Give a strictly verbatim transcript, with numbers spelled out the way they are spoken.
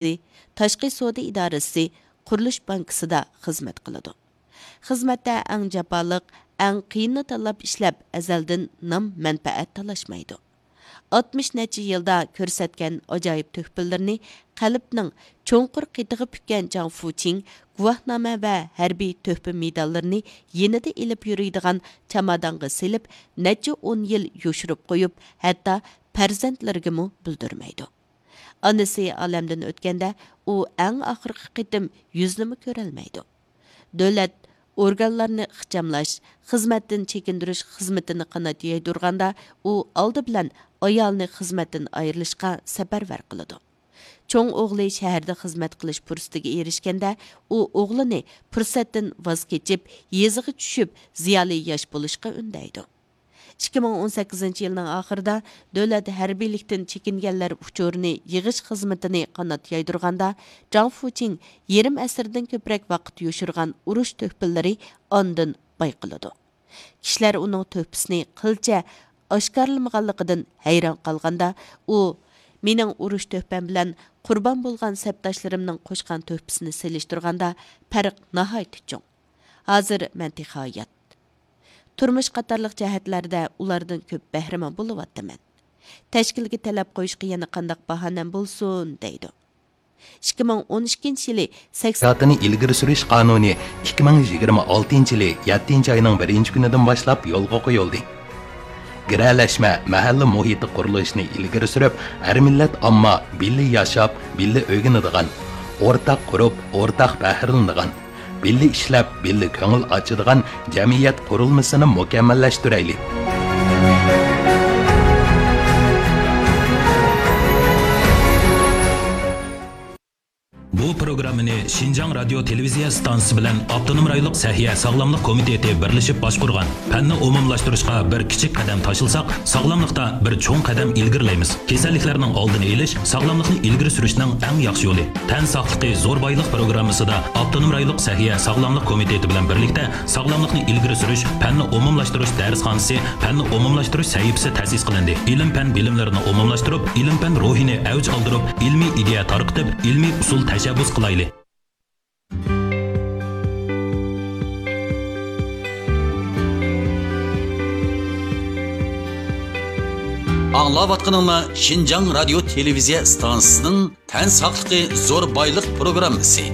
تاشقى سودا ئىدارىسى، قۇرۇلۇش بانكىسىدا خىزمەت قىلىدۇ. خىزمەتتە ئەڭ جاپالىق، ئەڭ قىيىننى تاللاپ ئىشلەپ، ئەزەلدىن نام، مەنپەئەت تالاشمايدۇ. ئاتمىش نەچچە يىلدا كۆرسەتكەن ئاجايىپ تۆھپىلىرىنى قەلبنىڭ چوڭقۇر قېتىغا پۈككەن جاڭ فۇچىڭ گۇۋاھنامە ۋە ھەربىي تۆھپە مېداللىرىنى يېنىدا ئېلىپ يۈرىدىغان چامادانغا سېلىپ، نەچچە ئون يىل يوشۇرۇپ قويۇپ، ھەتتا پەرزەنتلىرىگىمۇ بىلدۈرمەيدۇ. ئانىسى ئالەمدىن ئۆتكەندە، ئۇ ئەڭ ئاخىرقى قېتىم يۈزىنىمۇ كۆرەلمەيدۇ. دۆلەت ئورگانلارنى ئىخچاملاش، خىزمەتتىن چېكىندۈرۈش خىزمىتىنى قانات يايدۇرغاندا، ئۇ ئالدى بىلەن ئايالىنى خىزمەتتىن ئايرىلىشقا سەپەرۋەر قىلىدۇ. چوڭ ئوغلى شەھەردە خىزمەت قىلىش پۇرسىتىگە ئېرىشكەندە، ئۇ ئوغلىنى پۇرسەتتىن ۋاز كېچىپ، يېزىغا چۈشۈپ، زىيالىي ياش بولۇشقا ئۈندەيدۇ. ئىككى مىڭ ئون سەككىزىنچى يىلنىڭ ئاخىرىدا دۆلەت ھەربىيلىكتىن چېكىنگەنلەر ئۇچۇرىنى يىغىش خىزمىتىنى قانات يايدۇرغاندا، جاڭ فۇچىڭ يېرىم ئەسىردىن كۆپرەك ۋاقىت يوشۇرغان ئۇرۇش تۆھپىلىرى ئاندىن بايقىلىدۇ. كىشىلەر ئۇنىڭ تۆھپىسىنى قىلچە ئاشكارىلىمىغانلىقىدىن ھەيران قالغاندا، ئۇ، «مېنىڭ ئۇرۇش تۆھپەم بىلەن قۇربان بولغان سەپداشلىرىمنىڭ قوشقان تۆھپىسىنى سېلىشتۇرغاندا، پەرق ناھايىتى چوڭ. ھازىر مەن تېخى ھايات. تۇرمۇش قاتارلىق جەھەتلەردە ئۇلاردىن كۆپ بەھرىمەن بولۇۋاتىمەن. تەشكىلگە تەلەپ قويۇشقا يەنە قانداق باھانەم بولسۇن؟» دەيدۇ. ئىككى مىڭ ئون ئىككىنچى يىلى سەكسەن سىياسىتىنى ئىلگىرى سۈرۈش قانۇنى ئىككى مىڭ يىگىرمە ئالتىنچى يىلى يەتتىنچى ئاينىڭ بىرىنچى كۈنىدىن باشلاپ يولغا قويۇلدى. گىرەلەشمە، مەھەللە مۇھىتى قۇرۇلۇشىنى ئىلگىرى سۈرۈپ، ھەر مىللەت ئامما بىللە ياشاپ، بىللە ئۆگىنىدىغان، ئورتاق قۇرۇپ، ئورتاق پەخىرلىنىدىغان، بىللە ئىشلەپ، بىللە كۆڭۈل ئاچىدىغان جەمئىيەت قۇرۇلمىسىنى مۇكەممەللەشتۈرەيلى. بۇ پروگراممىنى شىنجاڭ رادىيو تېلېۋىزىيە ئىستانسىسى بىلەن ئاپتونوم رايونلۇق سەھىيە ساغلاملىق كومىتېتى بىرلىشىپ باشقۇرغان. پەننى ئومۇملاشتۇرۇشقا بىر كىچىك قەدەم تاشلىساق، ساغلاملىقتا بىر چوڭ قەدەم ئىلگىرىلەيمىز. كېسەللىكلەرنىڭ ئالدىنى ئېلىش ساغلاملىقنى ئىلگىرى سۈرۈشنىڭ ئەڭ ياخشى يولى. تەن ساقلىقى زور بايلىق پروگراممىسىدا ئاپتونوم رايونلۇق سەھىيە ساغلاملىق كومىتېتى بىلەن بىرلىكتە ساغلاملىقنى ئىلگىرى سۈرۈش، پەننى ئومۇملاشتۇرۇش دەرسخانىسى، پەننى ئومۇملاشتۇرۇش سەھىپىسى تەسىس قىلىندى. ئىلىم-پەن بىلىملىرىنى ئومۇملاشتۇرۇپ، ئىلىم-پەن روھىنى ئەۋج ئالدۇرۇپ، ئىلمىي ئىدىيە تارقىتىپ، ئىلمىي ئۇسۇل تەشەببۇس قىلايلى. ئاڭلاۋاتقىنىڭلار شىنجاڭ رادىيو تېلېۋىزىيە ئىستانسىسىنىڭ تەن ساقلىقى زور بايلىق پروگراممىسى.